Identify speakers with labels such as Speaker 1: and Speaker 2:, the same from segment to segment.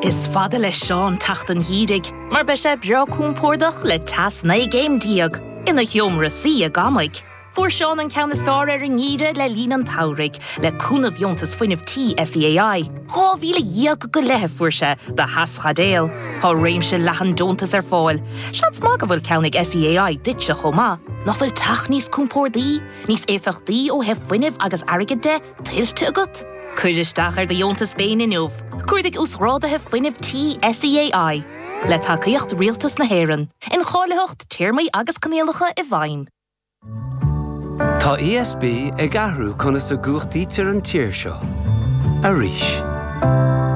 Speaker 1: Is fada le Seán teacht an gheimhridh mar beidh sé breá compordach le teas 19 gcéim ina sheomra suí i gCamaigh. Fuair Seán an ceann is fearr ar an ngeimhreadh le linn an tsamhraidh, le cúnamh Dheontas Fuinnimh Tí SEAI. 12,000 go leith a fuair sé do theaschaidéal. Tá réimse leathan deontas ar fáil. Seans maith go bhfuil ceann ag SEAI duitse chomh maith. Nach bhfuil teach níos compórdaí, níos éifeachtaí ó thaobh fuinnimh agus airgid de, tuillte agat? Cuir isteach ar do dheontas féin inniu. Cuardaigh Uasghráduithe Fuinnimh Tí SEAI. Le tacaíocht Rialtas na hÉireann. Incháilitheacht, téarmaí agus coinníollacha i bhfeidhm.
Speaker 2: Tá ESB ag athrú conas a gcumhachtaítear an tír seo. Arís.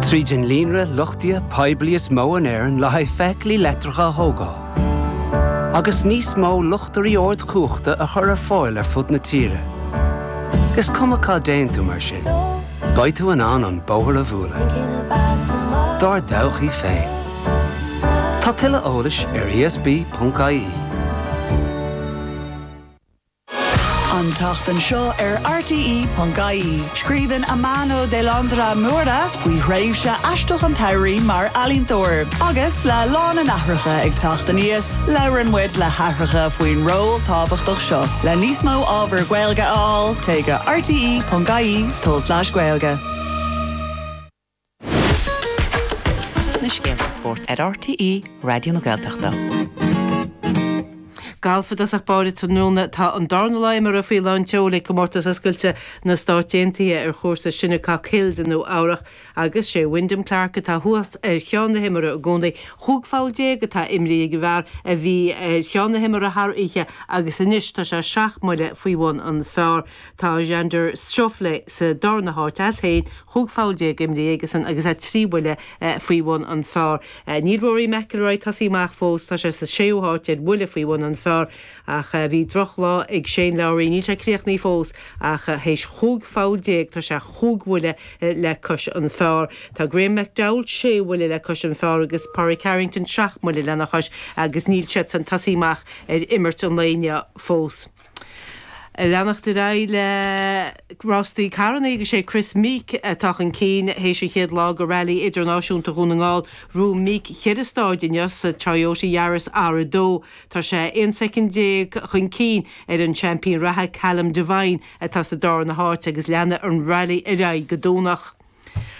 Speaker 2: Tríd an líonra luchtaithe poiblí is mó in Éirinn le haghaidh feithiclí leictreacha a thógáil, agus níos mó luchtairí ardchumhachta a chur ar fáil ar fud na tíre. Is cuma cá dtéann tú mar sin, beidh tú in ann an bóthar a bhualadh. Dár dtodhchaí féin. Tá tuilleadh eolais ar esb.ie.
Speaker 3: An tseachtain seo ar RTÉ.ie, scríobhann Amano de Londra Moura faoi thréimhse aisteach an tsamhraidh mar ealaíontóir. Agus le Lá na nAithreacha ag teacht aníos, labhrann muid le haithreacha faoin ról tábhachtach seo. Le níos mó ábhar Gaeilge a fháil, téigh go rte.ie tulslais Gaeilge.
Speaker 4: Na scéalta spóirt ar RTÉ Raidió na Gaeltachta.
Speaker 5: Galf i dtosach báire tráthnóna. Tá an darna lá imeartha faoi lán tseoil ag Comórtas Oscailte na Stát Aontaithe ar chúrsa Shinnecock Hills i Nua Eabhrach agus sé Wyndham Clark atá thuas ar cheann na himeartha i gcónaí. Chúig pholl déag atá imrithe ag an bhfear a bhí ar cheann na himeartha thar oíche agus anois tá sé seacht mbuille faoi bhun an phar. Tá Xander Schauffele sa darna háit as féin, chúig pholl déag imrithe aigesan agus é 3 bhuille faoi bhun an phar. Níl Rory McIlroy tosaithe amach fós, tá sé sa séú háit ar bhuille faoi bhun an phar ach bhí drochlá ag Shane Lowry, níl sé críochnaithe fós ach théis chúig pholl déag tá sé chúig bhuille le cois an phar. Tá Graeme McDowell sé bhuille le cois an phar agus Pádraig Harrington seacht mbuille lena chois agus níl siadsan tosaithe amach ar imirt an lae inniu fós. Leanacht ar aghaidh le rástaí carrannaí agus sé Kris Meeke atá chun cinn théis an chéad lá de Rally Idirnáisiúnta Dhún na nGall. Ghnóthaigh Meeke cheithre stáid inniu sa Toyota Yaris R2. Tá sé 11 soicind chun cinn ar an seaimpín reatha Callum Devine atá sa darna háit agus leanfaidh an Rally ar aghaidh go Domhnach.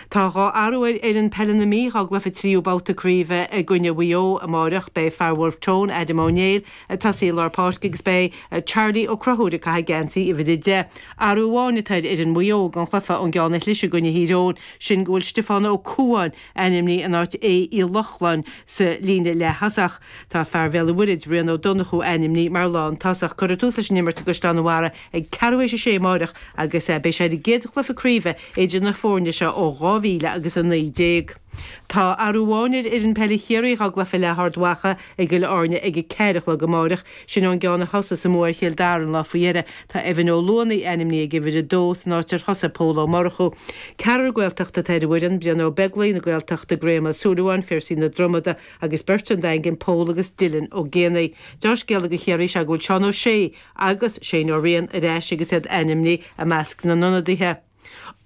Speaker 5: Tá 2 athrú ar fhoireann peile na Mí dhá gcluiche tríú babhta craoibhe i gcoinne Mhaigh Eo amáireach. Beidh fear Bhulf Tón, Adam Ó Néill, ag tosaí i lár páirce agus beidh Charlie Ó Conchúir ag caitheamh geansaí uimhir 10. Athrú amháin atá ar fhoireann Mhaigh Eo don chluiche ón gceann a chlis i gcoinne Thír Eoghain, sin go bhfuil Stiofán Ó Cualáin ainmnithe in áit Aodh Uí Lochlainn sa líne leath-thosach. Tá fear Bhéal an Mhuirthead, Rian Ó Donnchú ainmnithe mar lán-tosach. Cuirfear tús leis an imirt i gCaisleán an Bharraigh ag ceathrú théis a sé amáireach agus beidh sé ar an gcéad chluiche craoibhe idir na foirne seo ó 2000 agus 19. Tá athrú amháin ar fhoireann peile Chiarraí dhá gcluiche le hArd Mhacha i gCill Airne ag a ceathair a chlog amáireach. Sin ón gceann a thosaigh sa mbua ar Chill Dara an lá faoi dheireadh. Tá Evan Ó Luanaigh ainmnithe ag uimhir 2 san áit ar thosaigh Pól Ó Murchú. Ceathrar Gaeltachta atá ar an bhfoireann, Brian Ó Beaglaoich na Gaeltachta, Graham Ó Súilleabháin, Phiarsaigh na Dromoda agus beirt ón Daingean, Pól agus Dylan Ó Géibheannaigh. Deá-scéala do Chiarraí is ea go bhfuil Seán Ó Sé agus Shane Ó Riain ar ais agus iad ainmnithe i measc na n-ionadaithe.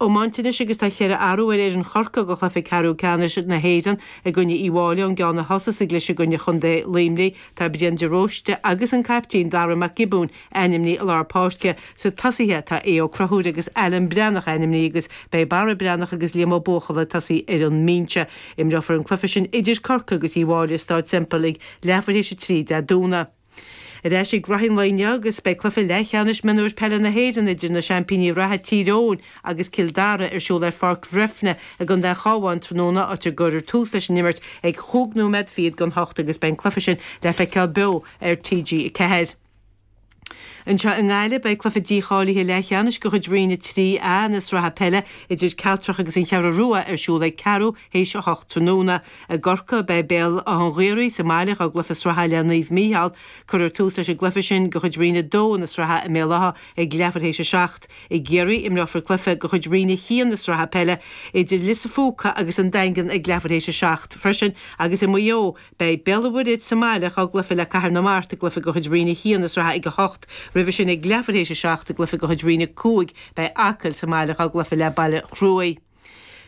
Speaker 5: Iomáint anois agus tá cheithre athrú ar fhoireann Chorcaí do chluiche ceathrú ceannais na hÉireann i gcoinne Uíbh Fháilí ón gceann a thosaigh sa gclis i gcoinne Chontae Luimnigh. Tá Brian de Róiste agus an caiptín Dara Mac Giobúin ainmnithe i lár páirce. Sna tosaithe tá Aodh Ó Conchúir agus Alan Breathnach ainmnithe agus beidh Barra Breathnach agus Liam Ó Buachalla ag tosaí ar an mbinse. Imreofar an cluiche sin idir Corcaigh agus Uíbh Fháilí i Stáid Semple ag leathuair théis 3 Dé Domhnaigh. Ar ais ag rothaí an lae inniu agus beidh cluiche leathcheannais mionúir peile na hÉireann idir na seaimpíní reatha Tír Eoghain agus Cill Dara ar siúl ar Pháirc Bhreifne i gContae an Chabháin tráthnóna áit a gcuirfear tús leis an imirt ag chúig nóiméad fichead don hocht agus beidh an cluiche sin le feiceáil beo ar TG4. Anseo i nGaillimh beidh cluiche dícháilithe leathcheannais de chuid Roinn 3A na sraithe peile idir Cealtrach agus an Cheathrú Rua ar siúl ag ceathrú théis a hocht tráthnóna. I gCorcaigh, beidh Béal Átha an Ghaorthaidh sa mbaile dhá gcluiche sraithe le Naomh Mícheál. Cuirfear tús leis an gcluiche sin de chuid Roinn 2 na sraithe i mBéal Átha ag leathuair théis a 7. I gCiarraí, imreofar cluiche de chuid Roinn 1 na sraithe peile idir Lios a' Phúca agus an Daingean ag leathuair théis a 7 freisin agus i Maigh Eo, beidh Béal an Mhuirthead sa mbaile dhá gcluiche le Cathair na Mart i gcluiche de chuid Roinn 1 na sraithe ag 8. Roimhe sin ag leathuair théis a 7 i gcluiche de chuid Roinn 5, beidh Acaill sa mbaile dhá gcluiche le Baile Chruaich.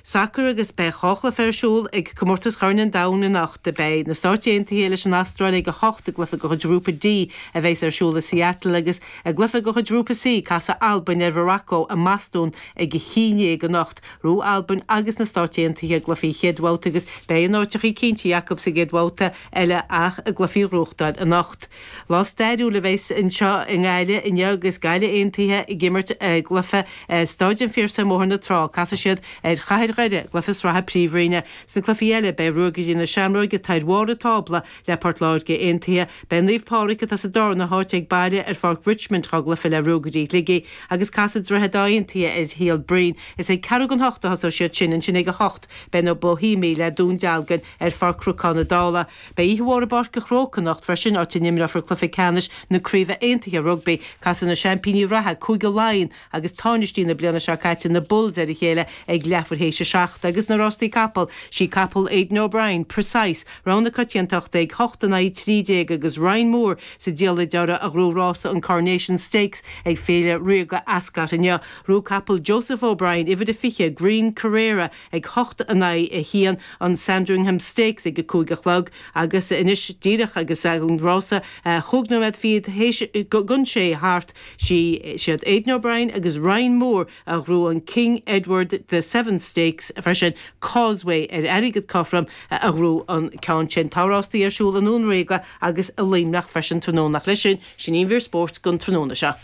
Speaker 5: Sacar agus beidh dha chluiche ar siúl ag Comórtas Chorn an Domhain anocht. Beidh na Stáit Aontaithe leis an Astráil ag 8 i gcluiche de chuid Ghrúpa D a bheas ar siúl i Seattle agus i gcluiche de chuid Ghrúpa C casfaidh Albain ar Mhorocco i mBostún ag a haon dhéag anocht. Ghnóthaigh Albain agus na Stáit Aontaithe a gcluichí chéad bhabhta agus beidh a n-áiteachaí cinntithe acu sa gcéad bhabhta eile ach a gcluichí a ghnóthachtáil anocht. Lá stairiúil a bheas anseo i nGaillimh inniu agus Gaillimh Aontaithe ag imirt i gcluiche i Stáid an Phiarsaigh i mBóthar na Trá. Casfaidh siad ar Chathair Dhoire i gcluiche sraithe Príomhroinne. Sna cluichí eile, beidh Ruagairí na Seamróige atá ar bharr an tábla le Port Láirge Aontaithe. Beidh Naomh Pádraig atá sa darna háit ag baile ar Pháirc Richmond dhá gcluiche le Ruagairí Shligigh agus casfaidh Droichead Átha Aontaithe ar Shíol Broin. Is ag ceathrú don hocht a thosóidh siad sin. Ansin ag a hocht beidh na Boihéamaigh le Dún Dealgan ar Pháirc Chnocán na Dála. Beidh oíche mhór i bPáirc an Chrócaigh anocht freisin, áit a n-imreofar cluiche ceannais na Craoibhe Aontaithe Rugbaí. Casfaidh na seaimpíní reatha, Cúige Laighean, agus táinistí na bliana seo caite, na Bulls, ar a chéile ag leathuair théis a seacht. Agus na rástaí capall, sí capall Aidan O'Brien, Precise, rogha na coitiantachta ag 8 in aghaidh 13 agus Ryan Moore sa diallait orthu a ghnóthaigh rása an Coronation Stakes ag Féile Ríoga Ascot inniu. Ghnóthaigh capall Joseph O'Brien, uimhir a 20, Green Carrera, ag 8 in aghaidh 1, an Sandringham Stakes ag a cúig a chlog agus anois díreach agus an rása chúig nóiméad fichead théis don sé thart, siad Aidan O'Brien agus Ryan Moore a ghnóthaigh an King Edward the Seventh Stakes freisin, Causeway ar airgead cothrom a ghnóthaigh an ceann sin. Tá rástaí ar siúl i nDún Ríoga agus i Luimneach freisin tráthnóna ach leis sin, sin í an mhír spóirt don tráthnóna seo.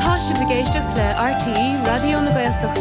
Speaker 6: Tá sibh ag éisteacht le RTÉ Raidió na Gaeltachta.